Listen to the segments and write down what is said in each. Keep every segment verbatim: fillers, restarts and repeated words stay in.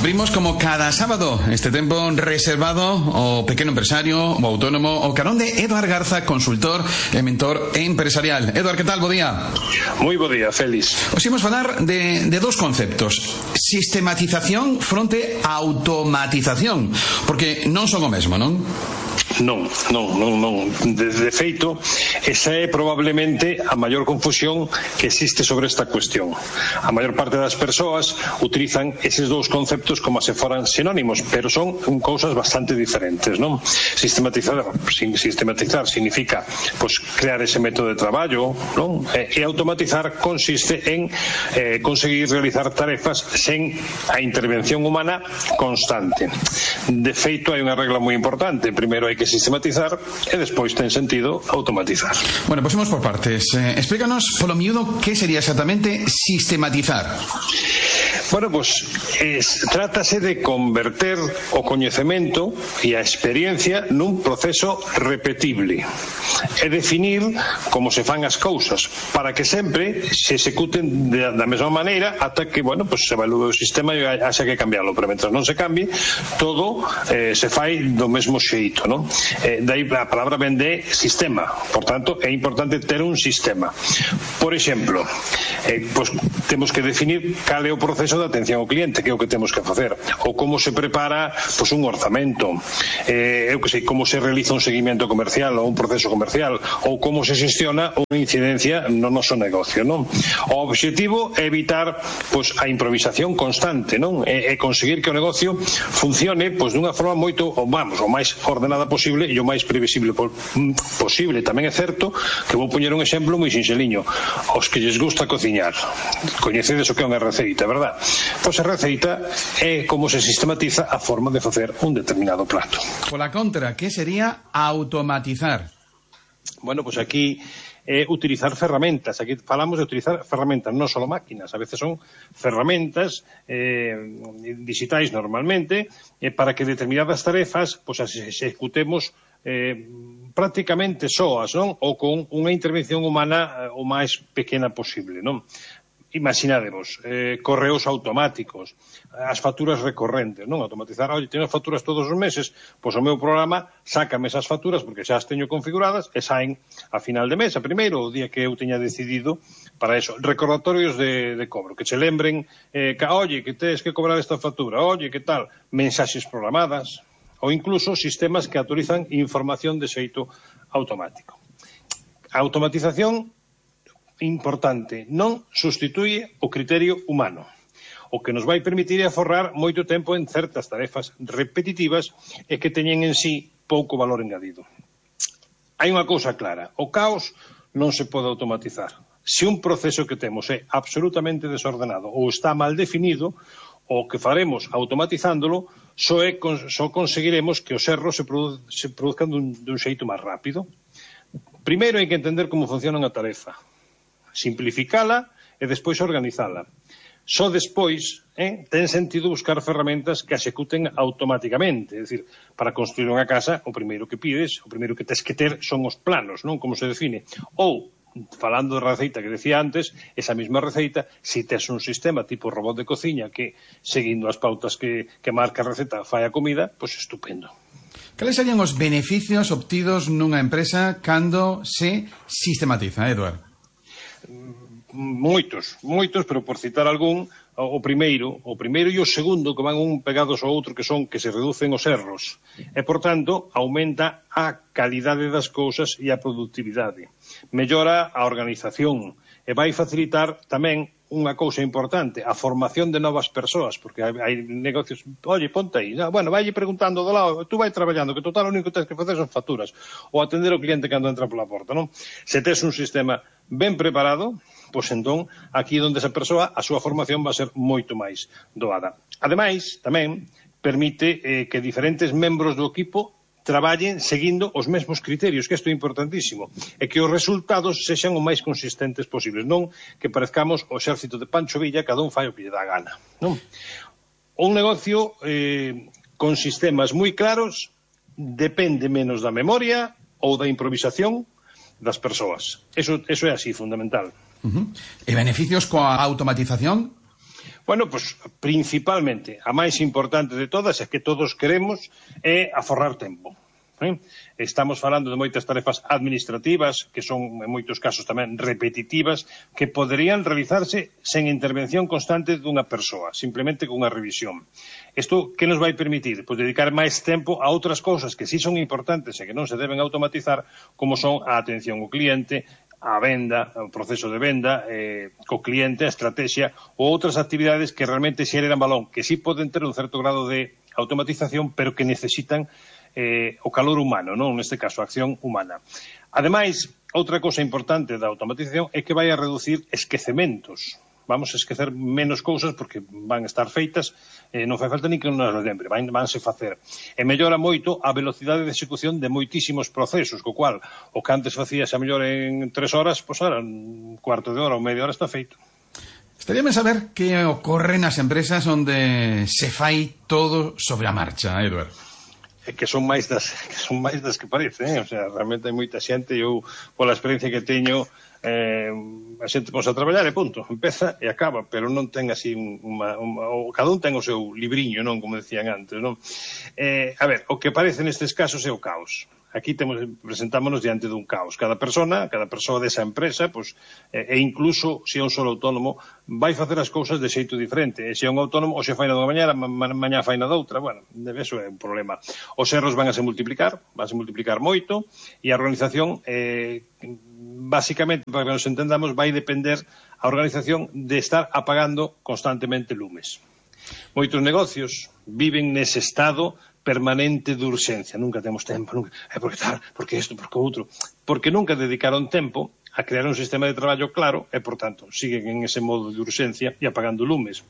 Abrimos como cada sábado este tempo reservado ao pequeno empresario, o autónomo, o carón de Eduard Garza, consultor e mentor empresarial. Eduard, que tal? Bo día. Moi bo día, Félix. Os imos falar de, de dos conceptos: sistematización fronte a automatización, porque non son o mesmo, non? Non, non, non, non. De, de feito, esa é probablemente a maior confusión que existe sobre esta cuestión. A maior parte das persoas utilizan eses dous conceptos como se foran sinónimos, pero son cousas bastante diferentes, non? Sistematizar, sistematizar significa pues, crear ese método de traballo, non? E, e automatizar consiste en eh, conseguir realizar tarefas sen a intervención humana constante. De feito, hai unha regla moi importante. Primeiro hai que sistematizar e despois ten sentido automatizar. Bueno, pues vamos por partes. Eh, explícanos polo miúdo que sería exactamente sistematizar. Bueno, pues es, trátase de converter o coñecemento e a experiencia nun proceso repetible e definir como se fan as cousas para que sempre se executen de, da mesma maneira ata que, bueno, pues se evalúe o sistema e haxa que cambiarlo, pero mentre non se cambie todo eh, se fai do mesmo xeito, non? Eh, daí a palabra ven de sistema, por tanto é importante ter un sistema. Por exemplo, eh, pues, temos que definir cal é o proceso de atención ao cliente, que é o que temos que facer, ou como se prepara pues, un orzamento, eh, eu que sei, como se realiza un seguimento comercial ou un proceso comercial, ou como se xestiona unha incidencia no noso negocio, non? O obxectivo é evitar pues, a improvisación constante, non? E, e conseguir que o negocio funcione pues, dunha forma moito, ou vamos, o máis ordenada posible e o máis previsible posible. Tamén é certo que vou poñer un exemplo moi sinxeliño. Os que lles gusta cociñar, coñecedes o que é unha receita, verdad? Pois a receita é como se sistematiza a forma de facer un determinado prato. Pola contra, que sería automatizar? Bueno, pois aquí é utilizar ferramentas. Aquí falamos de utilizar ferramentas, non só máquinas. A veces son ferramentas eh, digitais normalmente eh, para que determinadas tarefas pois as executemos eh, prácticamente soas, non? Ou con unha intervención humana eh, o máis pequena posible, non? Imaginademos, eh, correos automáticos, as facturas recorrentes, non? Automatizar, oye, teño facturas todos os meses, pois o meu programa sácame esas facturas porque xa as teño configuradas e saen a final de mes, a primeiro, o día que eu teña decidido para eso. Recordatorios de, de cobro, que che lembren, eh, que, oye, que tens que cobrar esta factura, oye, que tal, mensaxes programadas, ou incluso sistemas que autorizan información de xeito automático. A automatización importante, non substituye o criterio humano, o que nos vai permitir aforrar moito tempo en certas tarefas repetitivas e que teñen en sí pouco valor engadido. Hai unha cousa clara, o caos non se pode automatizar. Se un proceso que temos é absolutamente desordenado ou está mal definido, o que faremos automatizándolo só, é, só conseguiremos que os erros se, produ se produzcan dun, dun xeito máis rápido. Primeiro hai que entender como funciona unha tarefa, simplificala e despois organizala. Só despois eh, ten sentido buscar ferramentas que executen automáticamente. É dicir, para construir unha casa, o primeiro que pides, o primeiro que tes que ter son os planos, non? Como se define. Ou, falando de receita que decía antes, esa mesma receita, se tes un sistema tipo robot de cociña que, seguindo as pautas que, que marca a receta, fai a comida, pois estupendo. Cales serían os beneficios obtidos nunha empresa cando se sistematiza, Eduard? Moitos, moitos, pero por citar algún, o primeiro, o primeiro e o segundo que van un pegados ao outro, que son que se reducen os erros e, por tanto, aumenta a calidade das cousas e a productividade. Mellora a organización e vai facilitar tamén unha cousa importante, a formación de novas persoas, porque hai, hai negocios, oye, ponte aí, no, bueno, vai preguntando do lado, tú vai traballando, que total o único que tens que facer son facturas, ou atender o cliente cando entra pola porta, non? Se tes un sistema ben preparado, pois entón, aquí onde esa persoa, a súa formación vai ser moito máis doada. Ademais, tamén, permite eh, que diferentes membros do equipo traballen seguindo os mesmos criterios, que isto é importantísimo, e que os resultados sexan o máis consistentes posibles, non que parezcamos o exército de Pancho Villa, cada un fai o que lle dá gana, non? Un negocio eh, con sistemas moi claros depende menos da memoria ou da improvisación das persoas. Eso, eso é así, fundamental. Uh-huh. E beneficios coa automatización? Bueno, pois, pues, principalmente, a máis importante de todas é que todos queremos é aforrar tempo. Eh? Estamos falando de moitas tarefas administrativas, que son, en moitos casos, tamén repetitivas, que poderían realizarse sen intervención constante dunha persoa, simplemente con unha revisión. Isto, que nos vai permitir? Pois dedicar máis tempo a outras cousas que sí son importantes e que non se deben automatizar, como son a atención ao cliente, a venda, o proceso de venda, eh, co cliente, a estrategia ou outras actividades que realmente xeran valor, que sí poden ter un certo grado de automatización, pero que necesitan eh, o calor humano, non? Neste caso, a acción humana. Ademais, outra cousa importante da automatización é que vai a reducir esquecementos. Vamos a esquecer menos cousas porque van a estar feitas, eh, non fai falta ni que nos lembre, van, vanse facer. E mellora moito a velocidade de execución de moitísimos procesos, co cual o que antes facíase a mellor en tres horas, pois ahora un cuarto de hora ou media hora está feito. Estaría ben saber que ocorre nas empresas onde se fai todo sobre a marcha, Edward. É que son máis das que son máis das que parece, eh? O sea, realmente hai moita xente, eu pola experiencia que teño, eh, a xente pos a traballar e punto, empeza e acaba, pero non ten así unha, unha, cada un ten o seu libriño, non, como decían antes, non? Eh, a ver, o que parece nestes casos é o caos. Aquí temos, presentámonos diante dun caos. Cada persona, cada persoa desa empresa, pues, e incluso se é un solo autónomo, vai facer as cousas de xeito diferente. E se é un autónomo, o se fai na dunha mañana, ma, mañá fai na doutra. Bueno, eso é un problema. Os erros van a se multiplicar, van a se multiplicar moito, e a organización, eh, basicamente, para que nos entendamos, vai depender a organización de estar apagando constantemente lumes. Moitos negocios viven nese estado permanente de urxencia. Nunca temos tempo, nunca, é porque tal, porque isto, porque outro. Porque nunca dedicaron tempo a crear un sistema de traballo claro e, por tanto, siguen en ese modo de urxencia e apagando lumes.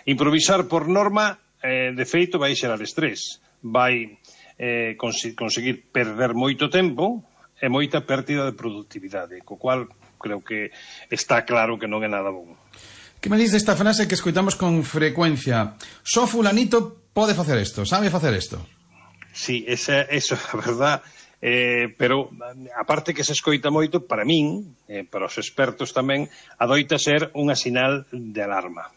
Improvisar por norma, eh, de feito, vai xerar estrés. Vai eh, cons conseguir perder moito tempo e moita pérdida de productividade, co cual creo que está claro que non é nada bom. Que me diz desta frase que escoitamos con frecuencia? Só fulanito pode facer isto, sabe facer isto. Sí, esa, eso é verdad, eh, pero aparte que se escoita moito, para min, eh, para os expertos tamén, adoita ser unha sinal de alarma.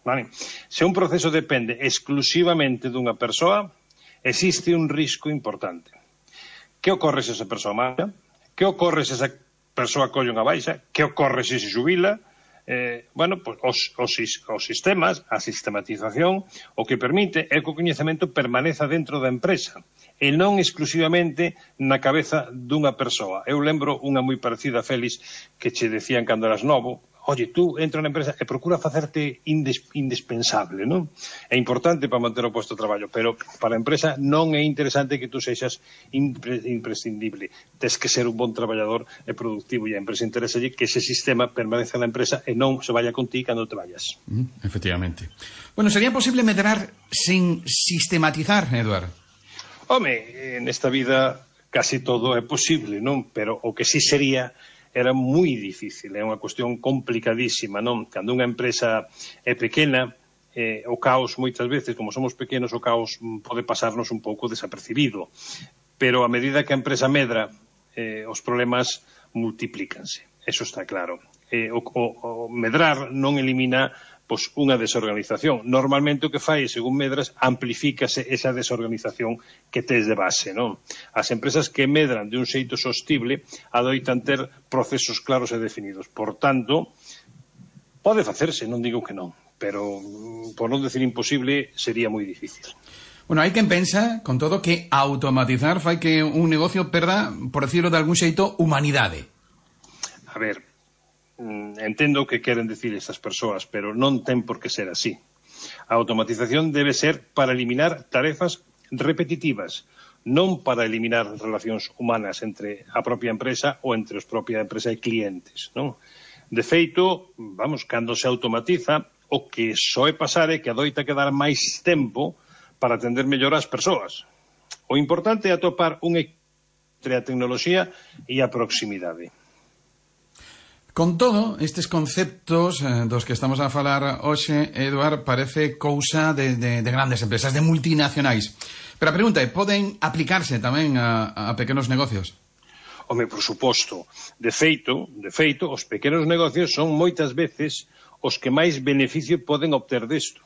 Vale? Se un proceso depende exclusivamente dunha persoa, existe un risco importante. Que ocorre se esa persoa marcha? Que ocorre se esa persoa colle unha baixa? Que ocorre se se xubila? Eh, bueno, pues, os, os, os sistemas, a sistematización, o que permite é que o coñecemento permaneza dentro da empresa e non exclusivamente na cabeza dunha persoa. Eu lembro unha moi parecida a Félix que che decían cando eras novo: oye, tú entra na empresa e procura facerte indes, indispensable, non? É importante para manter o posto de traballo, pero para a empresa non é interesante que tú sexas impre, imprescindible. Tes que ser un bon traballador e productivo, e a empresa interesa que ese sistema permaneza na empresa e non se vaya con ti cando te vayas. Mm, efectivamente. Bueno, sería posible medrar sin sistematizar, Eduard? Home, nesta vida casi todo é posible, non? Pero o que sí sería era moi difícil, é unha cuestión complicadísima, non? Cando unha empresa é pequena, eh, o caos moitas veces, como somos pequenos, o caos pode pasarnos un pouco desapercibido, pero a medida que a empresa medra, eh, os problemas multiplícanse, eso está claro. Eh, o, o, o medrar non elimina pois unha desorganización. Normalmente o que fai, según medras, amplifícase esa desorganización que tes de base, non? As empresas que medran de un xeito sostible adoitan ter procesos claros e definidos. Por tanto, pode facerse, non digo que non, pero por non decir imposible, sería moi difícil. Bueno, hai quen pensa, con todo, que automatizar fai que un negocio perda, por decirlo de algún xeito, humanidade. A ver, entendo o que queren dicir estas persoas, pero non ten por que ser así. A automatización debe ser para eliminar tarefas repetitivas, non para eliminar relacións humanas entre a propia empresa ou entre os propia empresa e clientes, non? De feito, vamos, cando se automatiza, o que soe pasar é que adoita quedar máis tempo para atender mellor as persoas. O importante é atopar un equilibrio entre a tecnoloxía e a proximidade. Con todo, estes conceptos eh, dos que estamos a falar hoxe, Eduard, parece cousa de, de, de grandes empresas, de multinacionais. Pero a pregunta é, poden aplicarse tamén a, a pequenos negocios? Home, por suposto. De feito, de feito, os pequenos negocios son moitas veces os que máis beneficio poden obter desto.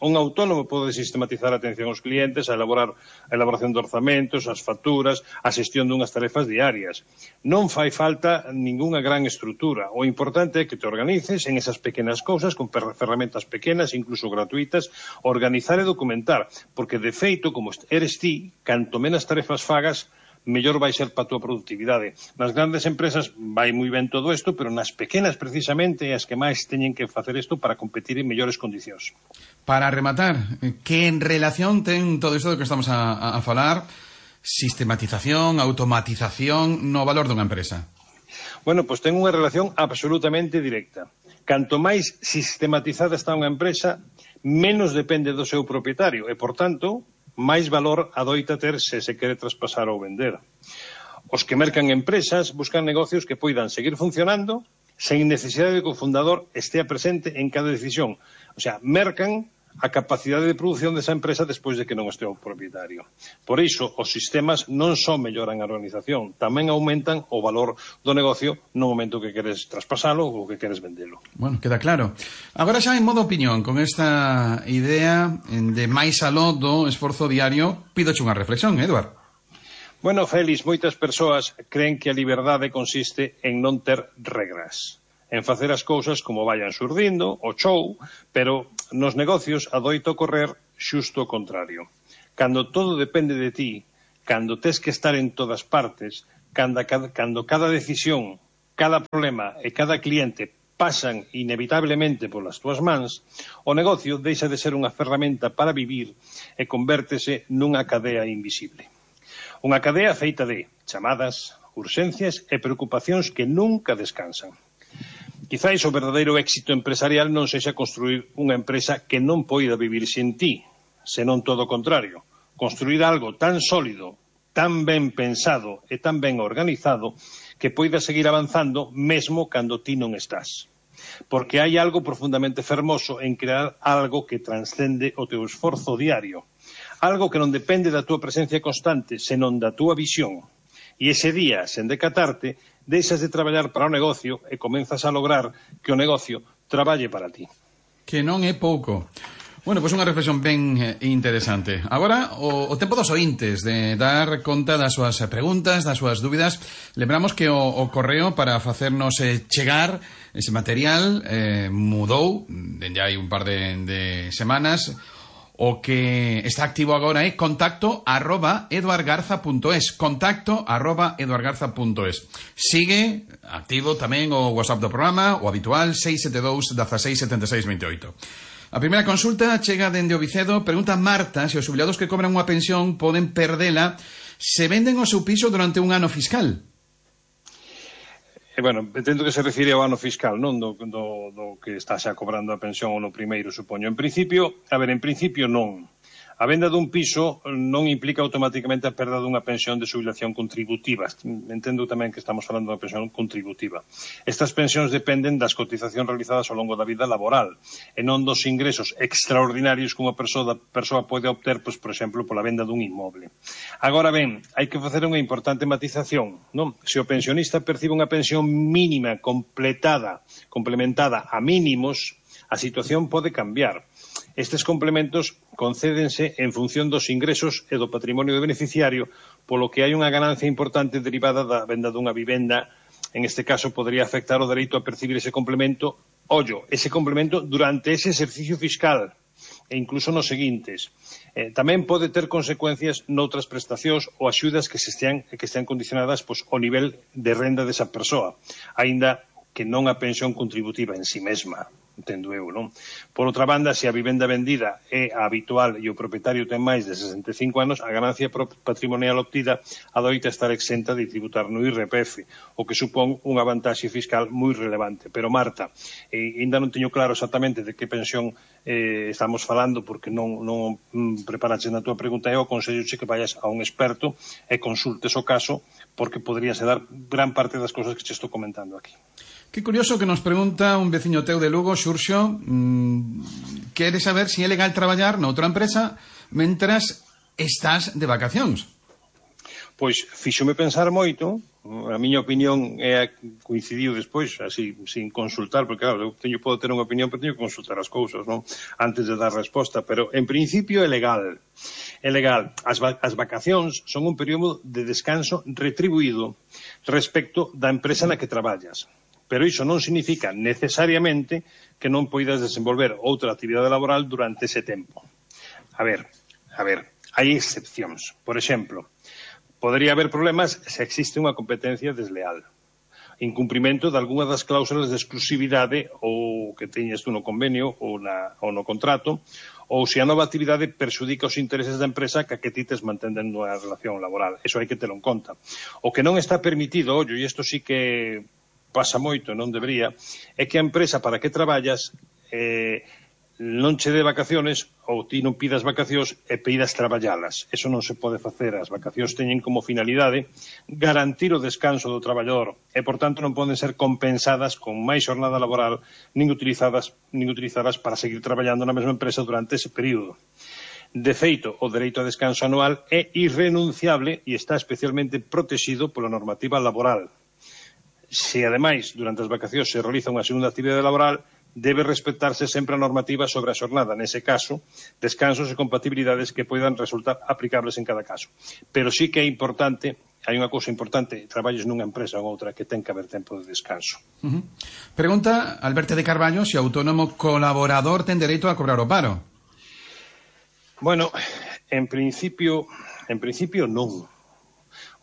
Un autónomo pode sistematizar a atención aos clientes, a elaborar a elaboración de orzamentos, as facturas, a xestión dunhas tarefas diarias. Non fai falta ningunha gran estrutura. O importante é que te organices en esas pequenas cousas, con ferramentas pequenas, incluso gratuitas, organizar e documentar, porque de feito, como eres ti, canto menos tarefas fagas, mellor vai ser para a túa productividade. Nas grandes empresas vai moi ben todo isto, pero nas pequenas, precisamente, as que máis teñen que facer isto para competir en mellores condicións. Para rematar, que en relación ten todo isto do que estamos a, a, a falar, sistematización, automatización no valor dunha empresa? Bueno, pois ten unha relación absolutamente directa. Canto máis sistematizada está unha empresa, menos depende do seu propietario e, por tanto, máis valor adoita ter se se quere traspasar ou vender. Os que mercan empresas buscan negocios que poidan seguir funcionando sen necesidade de que o fundador estea presente en cada decisión. O sea, mercan a capacidade de produción desa empresa despois de que non estea o propietario. Por iso, os sistemas non só melloran a organización, tamén aumentan o valor do negocio no momento que queres traspasalo ou que queres vendelo. Bueno, queda claro. Agora xa en modo opinión, con esta idea de máis aló do esforzo diario, pídoche unha reflexión, Eduard. Bueno, Félix, moitas persoas creen que a liberdade consiste en non ter regras, en facer as cousas como vayan surdindo, o show, pero nos negocios adoito correr xusto o contrario. Cando todo depende de ti, cando tes que estar en todas partes, cando, cando cada decisión, cada problema e cada cliente pasan inevitablemente polas túas mans, o negocio deixa de ser unha ferramenta para vivir e convértese nunha cadea invisible. Unha cadea feita de chamadas, urxencias e preocupacións que nunca descansan. Quizáis o verdadeiro éxito empresarial non sexa construir unha empresa que non poida vivir sen ti, senón todo o contrario. Construir algo tan sólido, tan ben pensado e tan ben organizado que poida seguir avanzando mesmo cando ti non estás. Porque hai algo profundamente fermoso en crear algo que transcende o teu esforzo diario. Algo que non depende da túa presencia constante, senón da túa visión. E ese día, sen decatarte, deixas de traballar para o negocio e comenzas a lograr que o negocio traballe para ti. Que non é pouco. Bueno, pois unha reflexión ben interesante. Agora, o, o tempo dos ointes de dar conta das súas preguntas, das súas dúbidas. Lembramos que o, o correo para facernos eh, chegar ese material eh, mudou, dende hai un par de, de semanas. O que está activo agora é contacto arroba eduardgarza punto es. Contacto arroba eduardgarza punto es. Sigue activo tamén o WhatsApp do programa, o habitual seis sete dous, dezasseis, setenta e seis, vinte e oito. A primeira consulta chega dende o Vicedo. Pregunta Marta se os xubilados que cobran unha pensión poden perdela se venden o seu piso durante un ano fiscal. E, bueno, entendo que se refire ao ano fiscal, non do, do, do que está xa cobrando a pensión ou no primeiro, supoño. En principio, a ver, en principio non. A venda dun piso non implica automáticamente a perda dunha pensión de xubilación contributiva. Entendo tamén que estamos falando de pensión contributiva. Estas pensións dependen das cotizacións realizadas ao longo da vida laboral e non dos ingresos extraordinarios que unha persoa, persoa pode obter, pois, por exemplo, pola venda dun inmoble. Agora ben, hai que facer unha importante matización, non? Se o pensionista percibe unha pensión mínima completada, complementada a mínimos, a situación pode cambiar. Estes complementos concédense en función dos ingresos e do patrimonio do beneficiario, polo que hai unha ganancia importante derivada da venda dunha vivenda. En este caso, podría afectar o dereito a percibir ese complemento, ollo, ese complemento durante ese exercicio fiscal e incluso nos seguintes. Eh, tamén pode ter consecuencias noutras prestacións ou axudas que se estean, que estean condicionadas pois, ao nivel de renda desa persoa, aínda que non a pensión contributiva en si mesma. Entendo eu, non? Por outra banda, se a vivenda vendida é a habitual e o propietario ten máis de sesenta e cinco anos, a ganancia patrimonial obtida adoita estar exenta de tributar no I R P F, o que supón unha vantaxe fiscal moi relevante. Pero, Marta, eh, ainda non teño claro exactamente de que pensión eh, estamos falando, porque non, non preparaches na túa pregunta. Eu aconselloche que vayas a un experto e consultes o caso, porque podríase dar gran parte das cousas que te estou comentando aquí. Que curioso que nos pregunta un veciño teu de Lugo, Xurxo, mmm, quere saber se é legal traballar noutra empresa mentras estás de vacacións. Pois fíxome pensar moito a miña opinión é coincidiu despois, así, sin consultar, porque claro, eu teño, podo ter unha opinión, pero teño que consultar as cousas, non? Antes de dar resposta, pero en principio é legal. É legal. As, va as vacacións son un período de descanso retribuído respecto da empresa na que traballas. Pero iso non significa necesariamente que non poidas desenvolver outra actividade laboral durante ese tempo. A ver, a ver, hai excepcións. Por exemplo, podería haber problemas se existe unha competencia desleal, incumprimento de algunha das cláusulas de exclusividade ou que teñes tú no convenio ou, na, ou no contrato, ou se a nova actividade perxudica os intereses da empresa que a que ti tes mantendo unha relación laboral. Eso hai que telo en conta. O que non está permitido, ollo, e isto sí que pasa moito, non debería, é que a empresa para que traballas eh, non che dé vacaciones ou ti non pidas vacacións e pidas traballalas. Eso non se pode facer. As vacacións teñen como finalidade garantir o descanso do traballador e, por tanto, non poden ser compensadas con máis xornada laboral nin utilizadas, nin utilizadas para seguir traballando na mesma empresa durante ese período. De feito, o dereito a descanso anual é irrenunciable e está especialmente protegido pola normativa laboral. Se, ademais, durante as vacacións se realiza unha segunda actividade laboral, debe respetarse sempre a normativa sobre a xornada, nese caso, descansos e compatibilidades que poidan resultar aplicables en cada caso. Pero sí que é importante, hai unha cousa importante, traballes nunha empresa ou outra que ten que haber tempo de descanso. Uh -huh. Pregunta Alberto de Carballo se o autónomo colaborador ten dereito a cobrar o paro. Bueno, en principio, en principio non.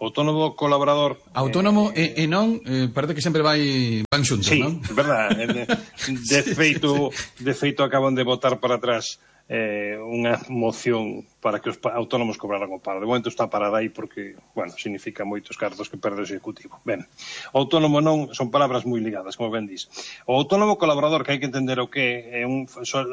Autónomo colaborador... Autónomo eh, e, e non, eh, parece que sempre vai van xuntos, sí, non? Sí, verdad. De feito, de feito acaban de botar para atrás eh, unha moción para que os autónomos cobraran o paro. De momento está parada aí porque, bueno, significa moitos cartos que perde o executivo. Ben, o autónomo non, son palabras moi ligadas, como ben dis. O autónomo colaborador, que hai que entender o que é un,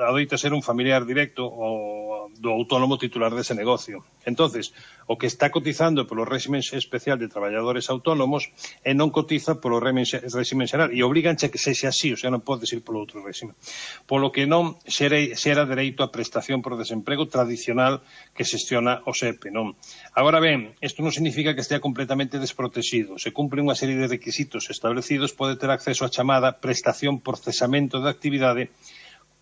adoita ser un familiar directo o do autónomo titular dese negocio. Entonces, o que está cotizando polo réximen especial de traballadores autónomos e non cotiza polo réximen xeral e obriganche a que sexa así, o sea, non podes ir polo outro réximen. Polo que non xera dereito a prestación por desemprego tradicional que xestiona o S E P, non? Agora ben, isto non significa que estea completamente desprotegido. Se cumpre unha serie de requisitos establecidos, pode ter acceso á chamada prestación por cesamento de actividade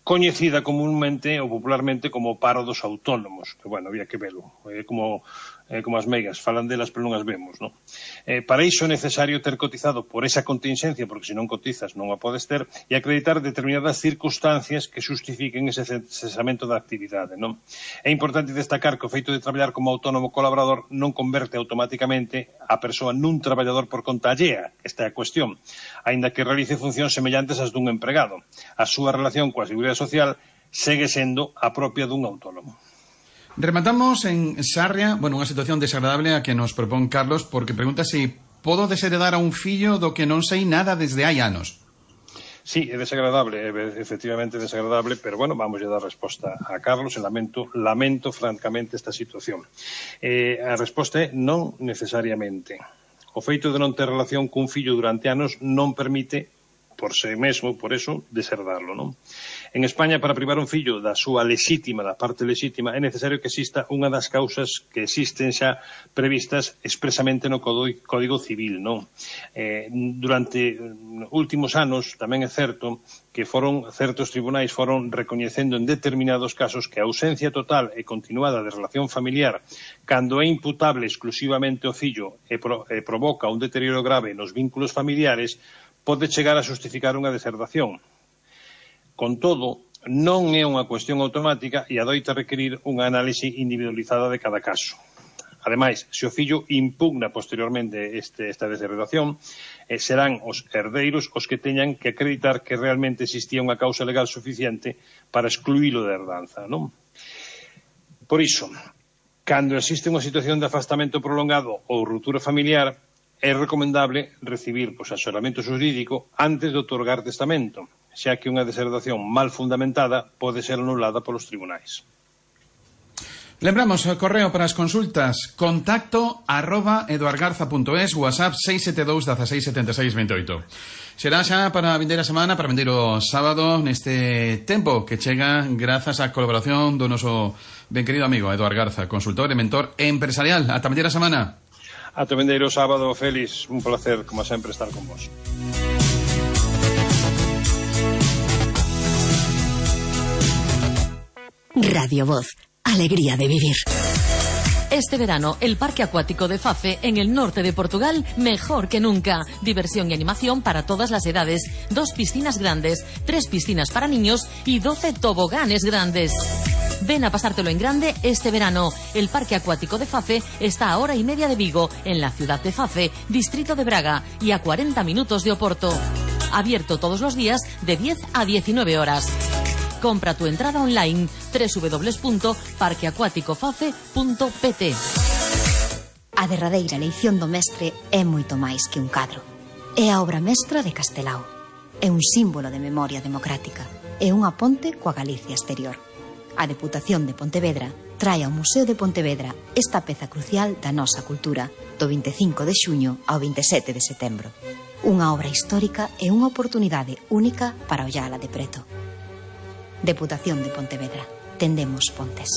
coñecida comúnmente ou popularmente como paro dos autónomos, que, bueno, había que velo, é como, é como as meigas, falan delas pero non as vemos, non? Eh, para iso é necesario ter cotizado por esa contingencia, porque se non cotizas non a podes ter, e acreditar determinadas circunstancias que justifiquen ese cesamento da actividade, non? É importante destacar que o feito de traballar como autónomo colaborador non converte automáticamente a persoa nun traballador por conta allea, esta é a cuestión, aínda que realice funcións semellantes ás dun empregado. A súa relación coa seguridade social segue sendo a propia dun autónomo. Rematamos en Sarria, bueno, unha situación desagradable a que nos propón Carlos, porque pregunta se podo desheredar a un fillo do que non sei nada desde hai anos. Sí, é desagradable, é efectivamente desagradable, pero bueno, vamos a dar resposta a Carlos e lamento, lamento francamente esta situación. Eh, a resposta é non necesariamente. O feito de non ter relación cun fillo durante anos non permite por si mesmo, por eso, deserdarlo, non? En España, para privar un fillo da súa lexítima, da parte lexítima, é necesario que exista unha das causas que existen xa previstas expresamente no Código Civil, non? Eh, durante últimos anos, tamén é certo que foron certos tribunais foron recoñecendo en determinados casos que a ausencia total e continuada de relación familiar, cando é imputable exclusivamente ao fillo e, pro, e provoca un deterioro grave nos vínculos familiares, pode chegar a justificar unha deserdación. Con todo, non é unha cuestión automática e adoita requerir unha análise individualizada de cada caso. Ademais, se o fillo impugna posteriormente este, esta deserdación, eh, serán os herdeiros os que teñan que acreditar que realmente existía unha causa legal suficiente para excluílo da herdanza, non? Por iso, cando existe unha situación de afastamento prolongado ou ruptura familiar, é recomendable recibir pois, asesoramento xurídico antes de otorgar testamento, xa que unha deserdación mal fundamentada pode ser anulada polos tribunais. Lembramos o correo para as consultas contacto arroba eduargarza punto es, WhatsApp seis sete dous dezasseis setenta e seis veintioito. Será xa para a vindeira semana, para vindeiro sábado, neste tempo que chega grazas á colaboración do noso ben querido amigo Eduard Garza, consultor e mentor empresarial. Ata vindeira semana. Ata o vindeiro sábado, Félix, un placer, como sempre, estar con vos. Radio Voz, alegría de vivir. Este verano, el Parque Acuático de Fafe, en el norte de Portugal, mejor que nunca. Diversión y animación para todas las edades. Dos piscinas grandes, tres piscinas para niños y doce toboganes grandes. Ven a pasártelo en grande este verano. El Parque Acuático de Fafe está a hora y media de Vigo, en la ciudad de Fafe, distrito de Braga, y a cuarenta minutos de Oporto. Abierto todos los días de diez a diecinueve horas. Compra tu entrada online doble u doble u doble u punto parque acuático fafe punto p t. A derradeira eleición do mestre é moito máis que un cadro. É a obra mestra de Castelao. É un símbolo de memoria democrática. É unha ponte coa Galicia exterior. A Deputación de Pontevedra trae ao Museo de Pontevedra esta peza crucial da nosa cultura do vinte e cinco de xuño ao vinte e sete de setembro. Unha obra histórica e unha oportunidade única para ollala de preto. Deputación de Pontevedra. Tendemos pontes.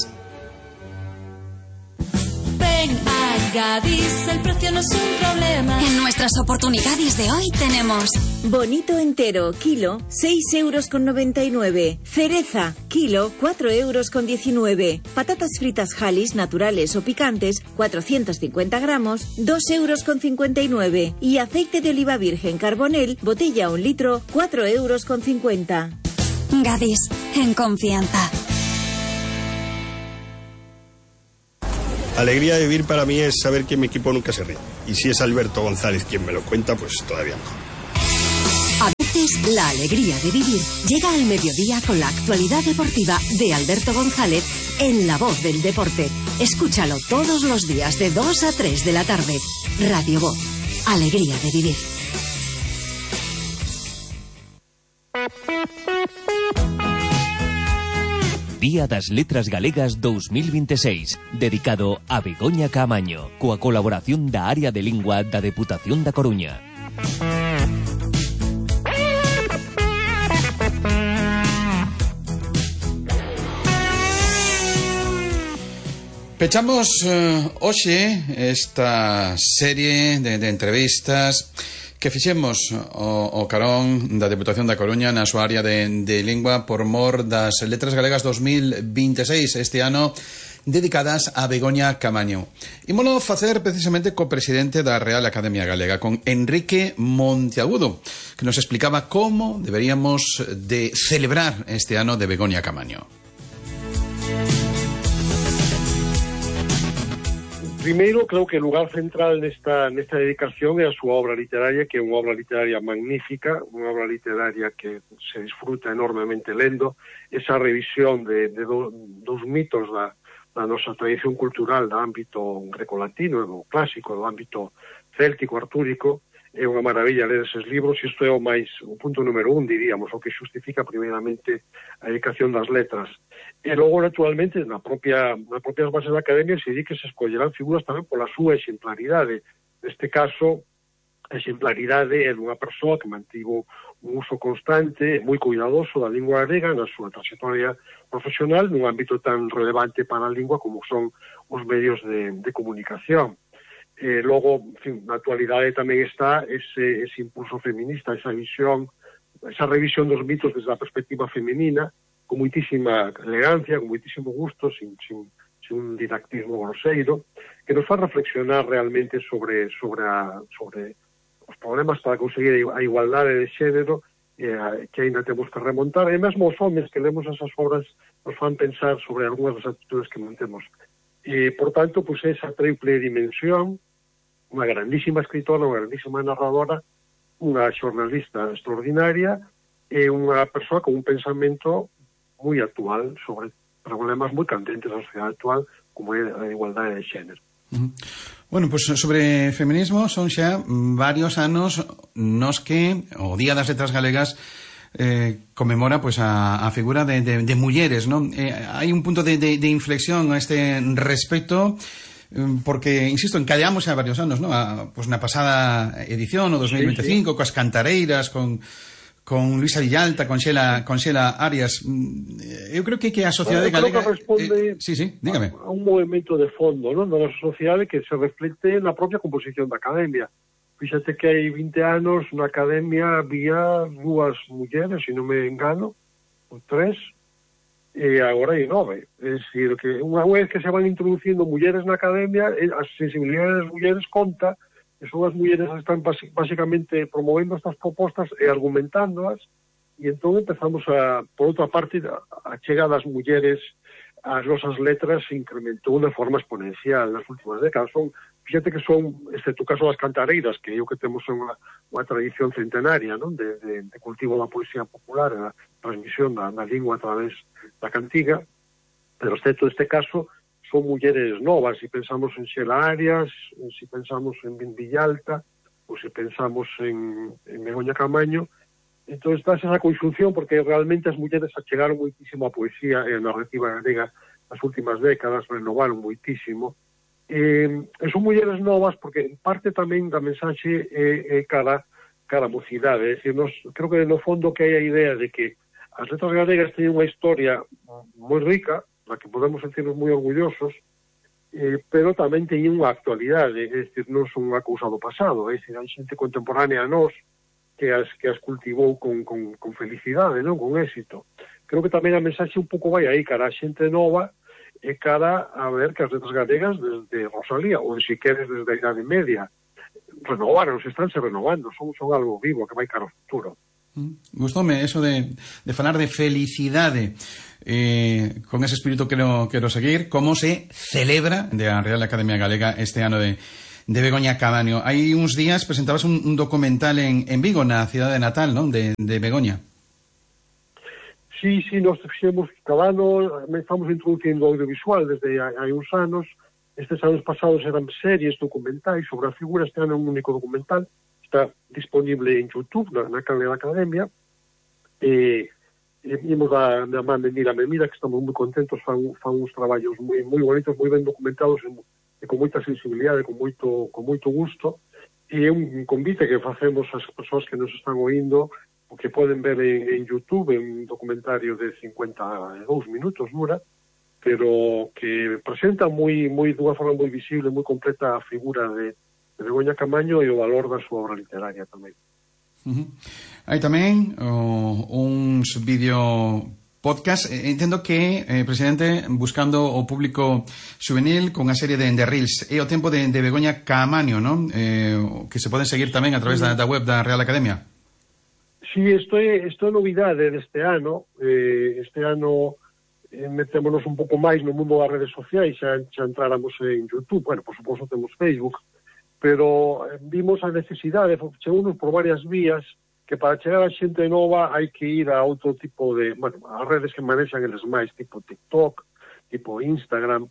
Ven a Gadis, el precio no es un problema. En nuestras oportunidades de hoy tenemos bonito entero, kilo, seis euros con noventa y nueve. Cereza, kilo, cuatro euros con diecinueve. Patatas fritas Halis, naturales o picantes, cuatrocientos cincuenta gramos, dos euros con cincuenta y nueve. Y aceite de oliva virgen Carbonel, botella un litro, cuatro euros con cincuenta. Gadis, en confianza. Alegría de vivir para mí es saber que mi equipo nunca se rinde. Y si es Alberto González quien me lo cuenta, pues todavía mejor. A veces la alegría de vivir llega al mediodía con la actualidad deportiva de Alberto González en La Voz del Deporte. Escúchalo todos los días de dos a tres de la tarde. Radio Voz, alegría de vivir. Día das Letras Galegas dos mil vinte e seis, dedicado a Begoña Caamaño, coa colaboración da Área de Lingua da Deputación da Coruña. Pechamos uh, hoxe esta serie de, de entrevistas que fixemos o, o carón da Deputación da Coruña na súa área de, de lingua por mor das Letras Galegas dos mil vinte e seis, este ano dedicadas a Begoña Caamaño. Ímolo facer precisamente co presidente da Real Academia Galega, con Enrique Monteagudo, que nos explicaba como deberíamos de celebrar este ano de Begoña Caamaño. Primeiro, creo que o lugar central nesta, nesta dedicación é a súa obra literaria, que é unha obra literaria magnífica, unha obra literaria que se disfruta enormemente lendo, esa revisión de, de do, dos mitos da, da nosa tradición cultural do ámbito grecolatino, do clásico, do ámbito céltico, artúrico, é unha maravilla ler eses libros, e isto é o máis, o punto número un, diríamos, o que xustifica primeiramente a dedicación das letras. E logo, naturalmente, na propia, na propias bases da Academia se di que se escollerán figuras tamén pola súa exemplaridade. Neste caso, a exemplaridade é dunha persoa que mantivo un uso constante, moi cuidadoso da lingua galega na súa trayectoria profesional nun ámbito tan relevante para a lingua como son os medios de, de comunicación. Eh, logo, en fin, na actualidade tamén está ese, ese impulso feminista, esa visión, esa revisión dos mitos desde a perspectiva femenina, con moitísima elegancia, con moitísimo gusto, sin, sin, sin un didactismo groseiro, que nos fa reflexionar realmente sobre, sobre, a, sobre os problemas para conseguir a igualdade de xénero eh, que ainda temos que remontar, e mesmo os homens que lemos esas obras nos fan pensar sobre algunhas das actitudes que mantemos. E, por tanto, pues, esa triple dimensión, unha grandísima escritora, unha grandísima narradora, unha xornalista extraordinaria e unha persoa con un pensamento moi actual sobre problemas moi candentes da sociedade actual como é a igualdade de xénero. Uh-huh. Bueno, pues sobre feminismo son xa varios anos nos que o Día das Letras Galegas eh, conmemora pues a, a figura de, de, de mulleres, ¿no? Eh, hai un punto de, de, de inflexión a este respecto, porque, insisto, encadeamos xa varios anos, ¿no? A, pues na pasada edición, o dos mil veinticinco, sí, sí, coas cantareiras, con con Luisa Villalta, con Xela, con Xela Arias. Eu creo que que a sociedade bueno, galega... Que responde eh, sí, sí, dígame. A, a un movimento de fondo, non, da nosa sociedade que se reflecte na propia composición da academia. Fíxate que hai vinte anos na academia había dúas mulleres, se non me engano, ou tres, e agora hai nove. É dicir, que unha vez que se van introducindo mulleres na academia, a sensibilidade das mulleres conta, e son as mulleres que están basicamente promovendo estas propostas e argumentándoas, e entón empezamos a, por outra parte, a chegada das mulleres as nosas letras se incrementou de forma exponencial nas últimas décadas. Son, fíjate que son, excepto o caso das cantareiras, que é o que temos unha, unha tradición centenaria, non? De, de, de cultivo da poesía popular, a transmisión da, da lingua a través da cantiga, pero excepto este caso, son mulleres novas. Se pensamos en Xela Arias, se pensamos en Villalta, ou se pensamos en, en Begoña Camaño, entón está esa conxunción, porque realmente as mulleres achegaron moitísimo a poesía e a narrativa galega nas últimas décadas, renovaron moitísimo. E, e son mulleres novas porque en parte tamén da mensaxe é, é cara, cara a mocidade. É dicir, nos, creo que no fondo que hai a idea de que as letras galegas teñen unha historia moi rica, da que podemos sentirnos moi orgullosos, eh, pero tamén teñen unha actualidade, é dicir, non son unha cousa do pasado, é dicir, hai xente contemporánea a nós que as, que as cultivou con, con, con felicidade, non? Con éxito. Creo que tamén a mensaxe un pouco vai aí, cara a xente nova, e cara a ver que as letras galegas desde Rosalía, ou se queres desde a Idade Media, renovaron, se están se renovando, son, son algo vivo que vai cara ao futuro. Mm. Gustoume eso de, de falar de felicidade, eh, con ese espírito quero, quero seguir. Como se celebra de a Real Academia Galega este ano de de Begoña Camaño? Hai uns días presentabas un, un documental en, en Vigo, na cidade natal, non? De, de Begoña. Sí, sí, nós fixemos cada ano, estamos introducindo audiovisual desde hai, hai uns anos. Estes anos pasados eran series documentais sobre a figura, este ano é un único documental, está disponible en YouTube, na, na canal da Academia, e, e vimos da, da man de Mira Memira, que estamos moi contentos, fan, fan uns traballos moi, moi bonitos, moi ben documentados, e, e con moita sensibilidade, con moito, con moito gusto, e é un convite que facemos ás persoas que nos están oindo, o que poden ver en, en YouTube, en un documentario de cincuenta e dous minutos dura, pero que presenta moi, moi dunha forma moi visible, moi completa a figura de, de Begoña Camaño e o valor da súa obra literaria tamén. Uh-huh. Hai tamén oh, uns vídeo podcast, eh, entendo que, eh, presidente, buscando o público juvenil con a serie de, de Reels, é o tempo de, de Begoña Camaño, non? Eh, que se poden seguir tamén a través da, da web da Real Academia. Sí, isto é, isto é novidade deste ano. Eh, este ano eh, metémonos un pouco máis no mundo das redes sociais, xa, xa entráramos en YouTube, bueno, por suposto temos Facebook, pero eh, vimos a necesidade, chegounos por varias vías, que para chegar a xente nova hai que ir a outro tipo de, bueno, as redes que manexan eles máis, tipo TikTok, tipo Instagram.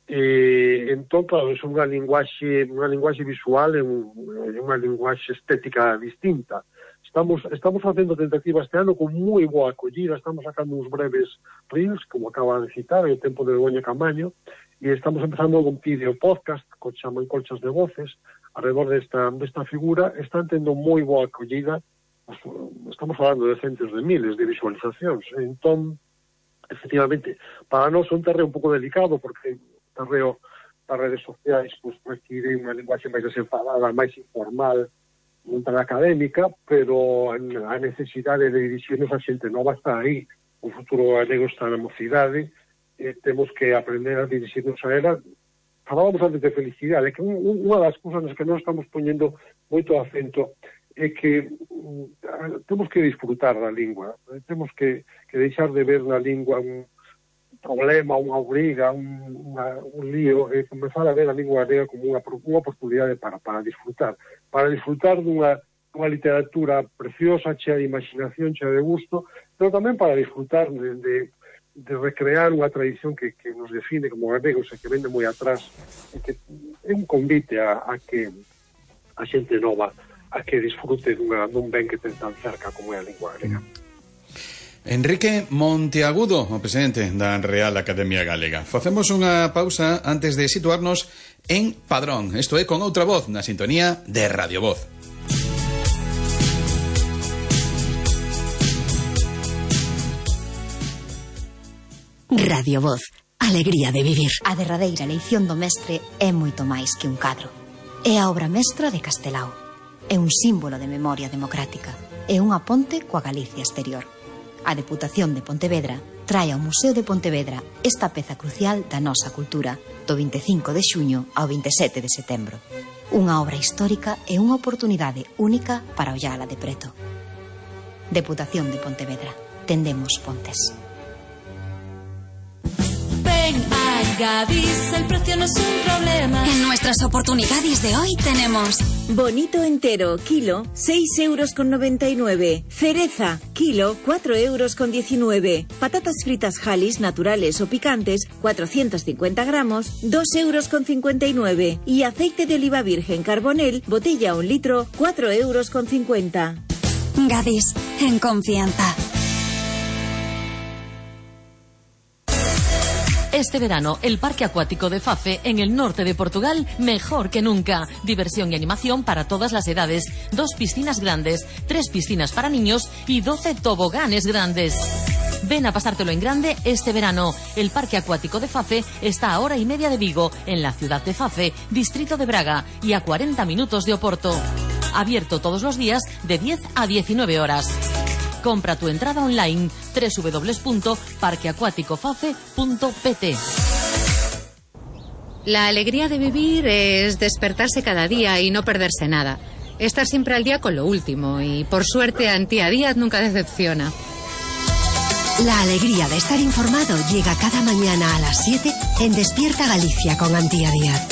Eh, entón, claro, é unha linguaxe, unha linguaxe visual e un, unha linguaxe estética distinta. Estamos, estamos facendo tentativa este ano con moi boa acollida, estamos sacando uns breves reels, como acaba de citar, o tempo de Begoña Camaño, e estamos empezando un vídeo podcast, que chaman Colchas de Voces, alrededor desta, desta figura. Están tendo moi boa acollida, estamos falando de centos de miles de visualizacións. Entón, efectivamente, para nós é un terreo un pouco delicado, porque o terreo das redes sociais pues, require unha linguaxe máis desenfadada, máis informal, non tan académica, pero a necesidade de dirixirnos a xente nova está aí. O futuro galego está na mocidade, e temos que aprender a dirixirnos a ela. Falábamos antes de felicidade, que unha das cousas nas que nós estamos poñendo moito acento é que uh, temos que disfrutar da lingua, eh, temos que, que deixar de ver na lingua un problema, unha obriga, un, una, un lío, e comenzar a ver a lingua galega como unha, unha oportunidade para, para disfrutar, para disfrutar dunha, dunha literatura preciosa, chea de imaginación, chea de gusto, pero tamén para disfrutar de, de, de recrear unha tradición que, que nos define como galegos e que vende moi atrás, e que é un convite a, a que a xente nova a que disfrute dunha, dun ben que ten tan cerca como é a lingua galega. Enrique Monteagudo, o presidente da Real Academia Galega. Facemos unha pausa antes de situarnos en Padrón. Isto é con outra voz na sintonía de Radio Voz. Radio Voz. Alegría de vivir. A derradeira leición do mestre é moito máis que un cadro. É a obra mestra de Castelao. É un símbolo de memoria democrática. É unha ponte coa Galicia exterior. A Deputación de Pontevedra trae ao Museo de Pontevedra esta peza crucial da nosa cultura do vinte e cinco de xuño ao vinte e sete de setembro. Unha obra histórica e unha oportunidade única para ollala de preto. Deputación de Pontevedra. Tendemos pontes. Ven a Gadis, el precio no es un problema. En nuestras oportunidades de hoy tenemos bonito entero, kilo, seis euros con noventa y nueve. Cereza, kilo, cuatro euros con diecinueve. Patatas fritas Hallis, naturales o picantes, cuatrocientos cincuenta gramos, dos euros con cincuenta y nueve. Y aceite de oliva virgen Carbonel, botella un litro, cuatro euros con cincuenta. Gadis, en confianza. Este verano, el Parque Acuático de Fafe, en el norte de Portugal, mejor que nunca. Diversión y animación para todas las edades. Dos piscinas grandes, tres piscinas para niños y doce toboganes grandes. Ven a pasártelo en grande este verano. El Parque Acuático de Fafe está a hora y media de Vigo, en la ciudad de Fafe, distrito de Braga, y a cuarenta minutos de Oporto. Abierto todos los días de diez a diecinueve horas. Compra tu entrada online doble u doble u doble u punto parque acuático fafe punto p t. La alegría de vivir es despertarse cada día y no perderse nada. Estar siempre al día con lo último y, por suerte, Antía Díaz nunca decepciona. La alegría de estar informado llega cada mañana a las siete en Despierta Galicia con Antía Díaz.